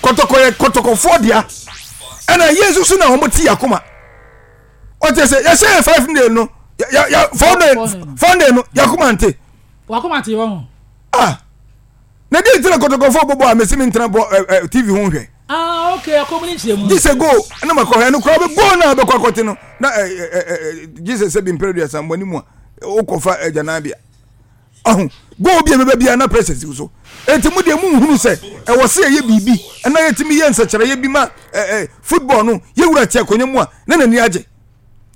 Kɔtɔkɔ yɛ kɔtɔkɔfoɔ dea. Ɛna yɛn nso so na wɔn te yakoma. Ɔte sɛ yɛhyɛ yɛ 5-0 no, yɛ yɛ 4-0 4-0 no yakoma nte. Wakoma te wɔn. Ah, na di ntina kɔtɔkɔfoɔ bɔbɔ a mesi mi ntena bɔ ɛ ɛ TV ho nhwɛ. Ah, okay, akɔmu ne nkyerɛ mu. Gye sɛ goal na ma kɔhwɛ no koraa bɛ goal na bɛkɔ akɔte no na ɛ ɛ ɛ gye sɛ sɛ bi mpere duasa mbɔ ne mu a wokɔfa agyananbea. Ahu, goal bi a ɛbɛba biara na pressure si wo so. Enti mo deɛ monhunu sɛ ɛwɔ sɛ yɛyɛ biribi na yɛtumi yɛ nsɛkyerɛeɛ bi ma ɛ ɛ football no yɛwura te akonnwa mu a na n'ani agye.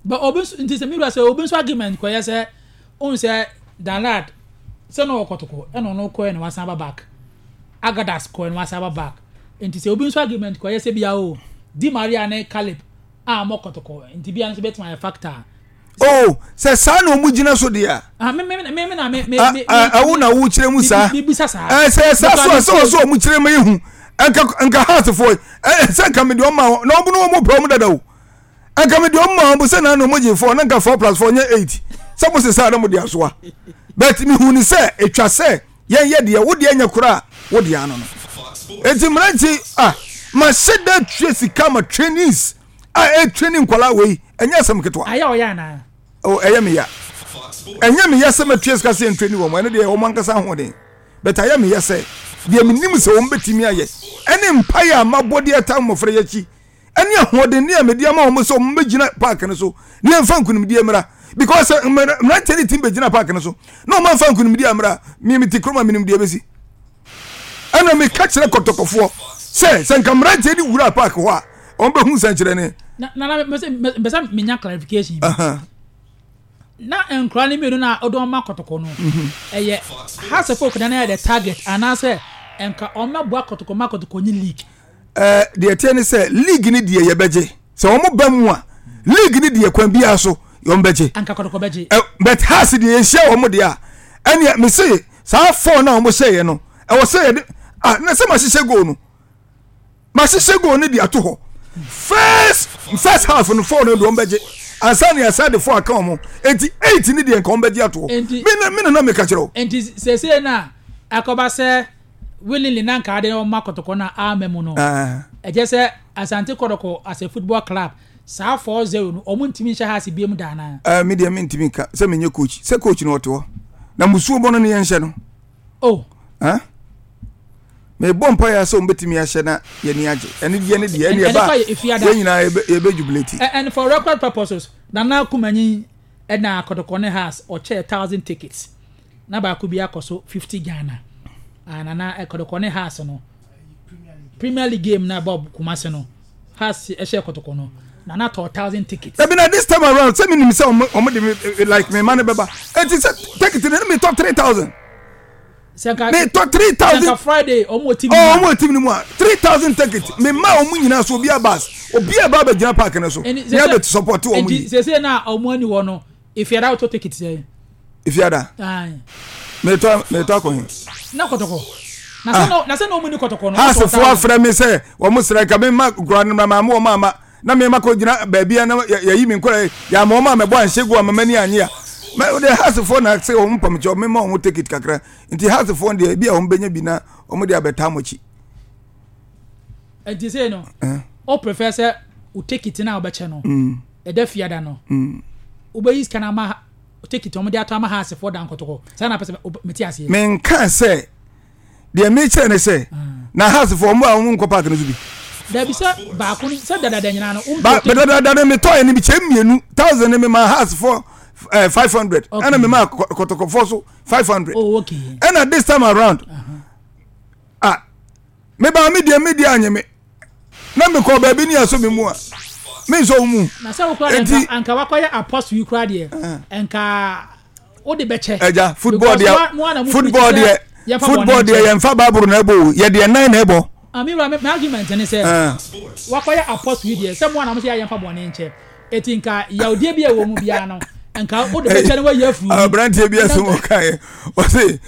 But obi nso nti sɛ mi wura sɛ obi nso argument kɔyɛ sɛ ohun sɛ Danlad sɛ na ɔwɔ kɔtɔkɔ ɛna ɔno kɔɛ na wasan aba back Agadas kɔɛ na wasan aba back nti sɛ obi nso argument kɔyɛ sɛ bia o Di Maria ne Caleb a wɔn kɔtɔkɔ nti bia nso bɛtumi ayɛ factor. Oh, sɛ saa na wɔn gyina so deɛ a. Ah, me me me me na me me me. Ɛwo na wo kyerɛ mu saa. Mi bisa saa. Ɛ sɛ saa so a sɛ wɔsɛ wɔn kyerɛ mu ehu. Nka nka heartfoɔ ɛ sɛ nka mi deɛ ɔma wɔn na wɔn no wɔn pɛ wɔn dada o. Nka mi deɛ ɔma wɔn sɛ na na wɔn gye four na nka 4 plus 4 nyɛ 8. Sɛ mo sesa na mo de asoa. But mi hu ni sɛ etwa sɛ yɛn yɛ deɛ wo deɛ nyɛ koraa wo deɛ ano no. Eti mmeranteɛ ah ma hyɛ da tua sika ma trainees. A ɛretrain nkwadaa wei ɛnyɛ asɛm ketewa. Ayɛ ɔyɛ anaa? Oh, ɛyɛ me ya. Ɛnyɛ me ya sɛ mɛtua sika sɛ yɛntrain wɔn, ɛno deɛ wɔn ankasa ahoɔden. But ayɛ me ya sɛ deɛ menim sɛ wɔn bɛtumi ayɛ ɛne mpaeɛ a mabɔ de ataa mmɔfra yi akyi ɛne ahoɔden ne a mede ama wɔn sɛ wɔn bɛgyina park no so ne yɛmfa nkunimdie mmra. Because sɛ mmeranteɛ no tumi bɛgyina park no so na wɔn amfa nkunimdie ammra, me mete kurom a menim deɛ ɛbɛsi. Ɛna meka kyerɛ kɔtɔkɔfoɔ sɛ sɛ nka mmeranteɛ no wura park hɔ a wɔn bɛhu nsɛnkyerɛnne. Na na mpɛ sɛ menya clarification bi. Na nkura no mmienu na ɔde wɔn ma kɔtɔkɔ no mhm. ɛyɛ Hearts of Oak na yɛ the target anaasɛ nka wɔn mɛboa kɔtɔkɔ ma kɔtɔkɔ nye league. Ɛɛ deɛ ɛteɛ ne sɛ league ni deɛ yɛbɛgye sɛ wɔn ba mu a league ni deɛ kwan biara so wɔn bɛgye. Anka kɔtɔkɔ bɛgye. Ɛ but Hearts deɛ yɛnhyia wɔn deɛ a ɛnneɛ mese saa four na wɔn hyɛ yɛ no ɛwɔ sɛ yɛde ah na sɛ ma hyehyɛ goal no. Mahyehyɛ goal no de ato hɔ. First first half no four no de wɔn bɛgye ansa na yɛasa de four aka wɔn. Eti 8 ne deɛ nka wɔn bɛgye ato hɔ. Me na me na na meka kyerɛ wo. Nti sese na akɔba sɛ willingly na nka ade wɔn akɔtɔkɔ na ama mu no. Ɛkyɛ sɛ Asante Kɔtɔkɔ as a football club saa 4-0 no wɔn ntumi nhyɛ ha ase biem da anaa. Ɛɛ me deɛ me ntumi nka sɛ menyɛ coach sɛ coach no ɔte hɔ na musuo bɔ no ne yɛn hyɛ no. Oh. Huh? Mebɔ mpaeɛ sɛ wɔbɛtumi ahyɛ na yɛni agye. Ɛne deɛ ne deɛ ɛne ɛba yɛn nyinaa yɛbɛ jubilate. And for record purposes, Nana Kumanyi ɛna Kɔtɔkɔ ne Hearts ɔkyɛɛ 1,000 tickets. Na baako bi akɔ so 50 Ghana. Ah, Nana Kɔtɔkɔ ne Hearts no. Premier League game na ɛbɔ Kumasi no. Hearts ɛhyɛ Kɔtɔkɔ no. Nana tɔ 1,000 tickets. Ɛbi na this time around sɛ menim sɛ ɔmo de me like me ma ne bɛba. Eti sɛ ticket no ne metɔ 3,000. Metɔ 3,000. Sɛ Friday ɔmo wɔ team no mu a. Ɔmo wɔ team no mu a 3,000 ticket me ma ɔmo nyinaa so obi abas obi a ɛba abɛgyina park no so ne abɛ support ɔmo yi. Nti sese na ɔmo ani hɔ no efiada wotɔ ticket sɛ. Efiada. Metɔ metɔ akɔ he. Na kɔtɔkɔ. Na sɛ na sɛ na ɔmo ni kɔtɔkɔ no. Haasefo afrɛ mi sɛ wɔn srɛ nka mi ma kura no ma mo wɔn ama. Na me makɔ gyina baabi a na yɛyi me nkɔla yɛ ama wɔn a mɛbɔ anhyɛ gu ama m'ani anye a mɛ de hasefoɔ na sɛ wɔn mpam kyɛw mema wɔn ticket kakra nti hasefoɔ deɛ ebi a wɔn bɛnya bi na wɔn de abɛtaa mo akyi. Nti sɛ no o prefer sɛ o ticket na ɔbɛkyɛ no ɛda fiada no wobɛyi sika no ama ticket wɔn de ato ama hasefoɔ da nkɔtɔkɔ saa na pɛ sɛ mete aseɛ. Menka sɛ deɛ mekyerɛ ne sɛ na hasefoɔ ɔmo a ɔmo nkɔ park no so bi. Dabi sɛ baako no sɛ dadada nyinaa no. Ba dadada no metɔ yɛ no bi kyɛ mmienu 1,000 no mema hasefoɔ 500 ɛna mema kɔtɔkɔfoɔ so 500. Oh, okay. Ɛna this time around ah meba me deɛ me deɛ anye me na mekɔ baabi ne asɔ me mu a me nsɔ wo mu. Na sɛ wokora deɛ nka wakɔyɛ apostle yi kora deɛ nka wode bɛkyɛ. Ɛgya football deɛ football deɛ football deɛ yɛn fa baaburo na ɛbɔ o yɛ deɛ nan na ɛbɔ. Ami wura mi argument ne sɛ wakɔyɛ apostle yi deɛ sɛ mo anam sɛ yɛ yɛn fa bɔne nkyɛ eti nka yawdeɛ bi a ɛwɔ mu biara no nka wode bɛkyɛ no wayi afiri mu. Aberanteɛ bi asɛm ɔkaeɛ ɔse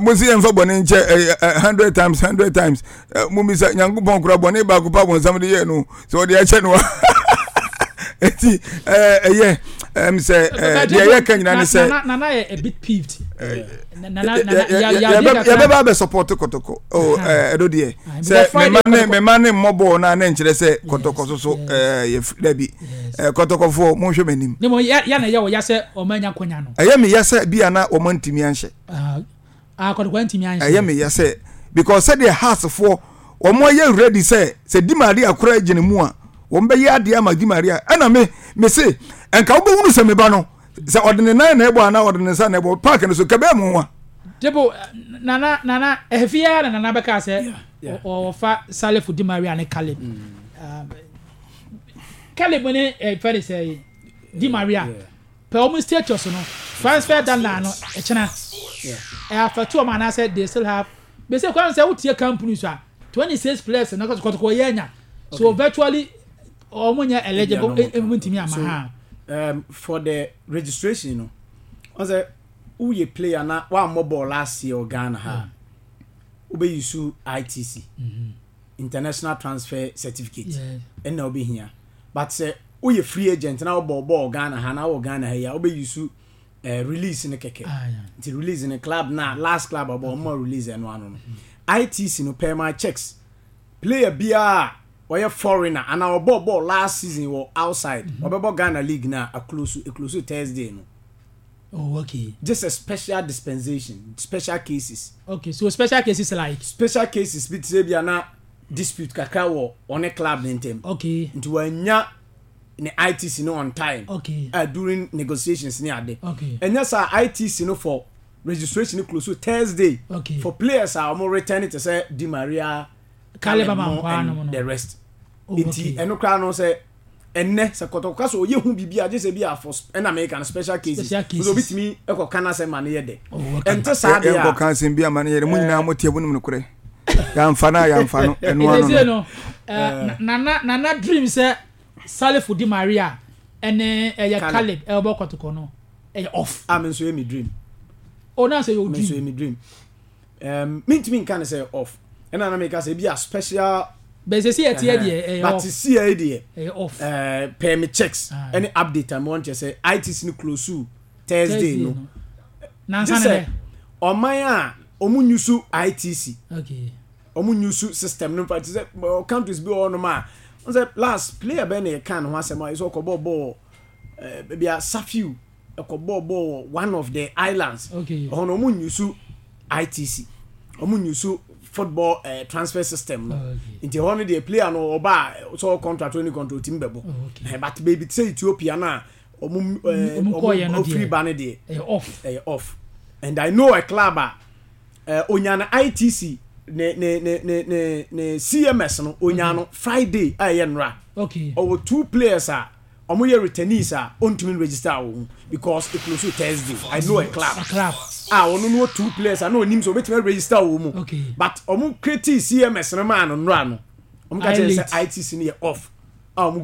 mo se yɛmfa bɔne nkyɛ 100 times 100 times mumisa Nyankopɔn kora bɔne baako pa bɔnsam de yɛɛ no sɛ ɔde akyɛ no a eti ɛyɛ sɛ deɛ yɛka nyina ne sɛ Nana yɛ a bit peeved. Yɛbɛba abɛ support Kɔtɔkɔ. Oh, ɛdo deɛ. Sɛ mema ne mema ne mmɔ bɔɔl na ne nkyerɛ sɛ Kɔtɔkɔ so so yɛ dabi. Kɔtɔkɔfoɔ monhwɛ m'anim. Ne mo yɛ na yɛ wɔ ya sɛ wɔn anya konya no. Ɛyɛ me ya sɛ bi ana wɔn antumi anhyɛ. Ah, Kɔtɔkɔ antumi anhyɛ. Ɛyɛ me ya sɛ because sɛdeɛ Heartsfoɔ wɔn ayɛ ready sɛ sɛ Di Maria koraa gyina mu a wɔn bɛyɛ adeɛ ama Di Maria ɛna me me se nka wobɛhunu sɛ me ba no sɛ ɔde ne nan na ɛbɔ anaa ɔde ne nsa na ɛbɔ park no so kɛbɛɛ mu nwa. Debo nana nana ɛfi ara na nana bɛka sɛ ɔfa Salifu Di Maria ne Caleb. Mm. Um, Caleb ne ɛfɛ de sɛ Di Maria. Yeah. Pɛ wɔn status no transfer da no ɛkyena ɛ affect wɔn anaasɛ they still have bese kwan sɛ wotie company so a 26 players na kɔtɔkɔ yɛ anya so okay. Virtually wɔn nyɛ eligible emu ntumi ama ha. For the registration no wɔn sɛ woyɛ player na wammɔ ball last year wɔ Ghana ha wobɛyi so ITC mm -hmm. International transfer certificate ɛna wobɛhia but sɛ woyɛ free agent na wobɔ bɔɔl Ghana ha na wɔ Ghana ha yi a wobɛ use eh, release no kɛkɛ ah, nti release no club na last club ɔbɔ ɔmo release ɛno ano no ITC no per my checks player biara ɔyɛ foreigner ana ɔbɔ bɔɔl last season wɔ outside mhm. ɔbɛbɔ Ghana league na aklosu eklosu Thursday no. Oh, okay. Just a special dispensation, special cases. Okay, so special cases like? Special cases bi te sɛ bi ana dispute kakra wɔ ɔne club ne ntɛm. Okay. Nti wanya ne ITC no on time. Okay. During negotiations ne ade. Okay. Ɛnyɛ saa ITC no for registration no close so Thursday. Okay. For players a wɔn return te sɛ Di Maria, Caleb Amankwa and the rest. Oh, Nti ɛno koraa no sɛ ɛnɛ sɛ kɔtɔkɔ sɛ ɔyɛ hu biribi a gye sɛ bi a for ɛna meka no special cases special cases sɛ obi tumi ɛkɔ ka n'asɛm ma no yɛ dɛ oh, okay. ɛnte saa deɛ a yɛnkɔ ka asɛm bi ama no yɛ dɛ mo nyinaa mo teɛ mo nim nokorɛ yɛamfa no a yɛamfa no ɛno ano no no eh, nana nana dream sɛ Salifu Di Maria ɛne ɛyɛ Caleb ɛbɔ kɔtɔkɔ no ɛyɛ off ah me nso yɛ me dream oh na sɛ yɛ dream me nso yɛ me dream um, mentumi nka no sɛ off ɛna na meka sɛ ebi a special bɛsɛ si ɛteɛ deɛ ɛyɛ off but si ɛyɛ deɛ ɛyɛ off ɛɛ pɛɛ me checks ah. ɛne update a mo wɔn kyɛ sɛ ITC no close Thursday no nansa ne dɛ ɔman a wɔn nyusu ITC okay wɔn nyusu system no nfa ti sɛ countries bi wɔ hɔnom a wɔn sɛ last player bɛn na yɛ kan ho asɛm a yɛ sɛ ɔkɔ bɔɔ bɔɔl ɛɛ ebi a Safiu ɛkɔbɔɔ bɔɔl wɔ one of the islands okay. Ɛhɔ no wɔn nyusu ITC wɔn nyusu football uh, transfer system no oh, okay. Nti ɛhɔ no deɛ player no ɔba a sɛ ɔwɔ contract ɔni contract otimi bɛbɔ oh, okay. Eh, but baabi te sɛ Ethiopia no a wɔn wɔn ofiri ba no deɛ ɛyɛ off ɛyɛ off and I know a club a uh, onya no ITC ne ne ne ne ne ne CMS no onya no Friday a ɛyɛ nnora okay. Ɔwɔ two players a Ɔmo yɛ returnees a ontumi nregister wɔ ho because e close Thursday. I know a club A club. a ɔno no wɔ two players a na onim sɛ obetumi aregister wɔ mu. Okay. But ɔmo create CMS no maa no nnora no. Ɔmo ka Ayɛ kyerɛ no late. sɛ ITC no yɛ off.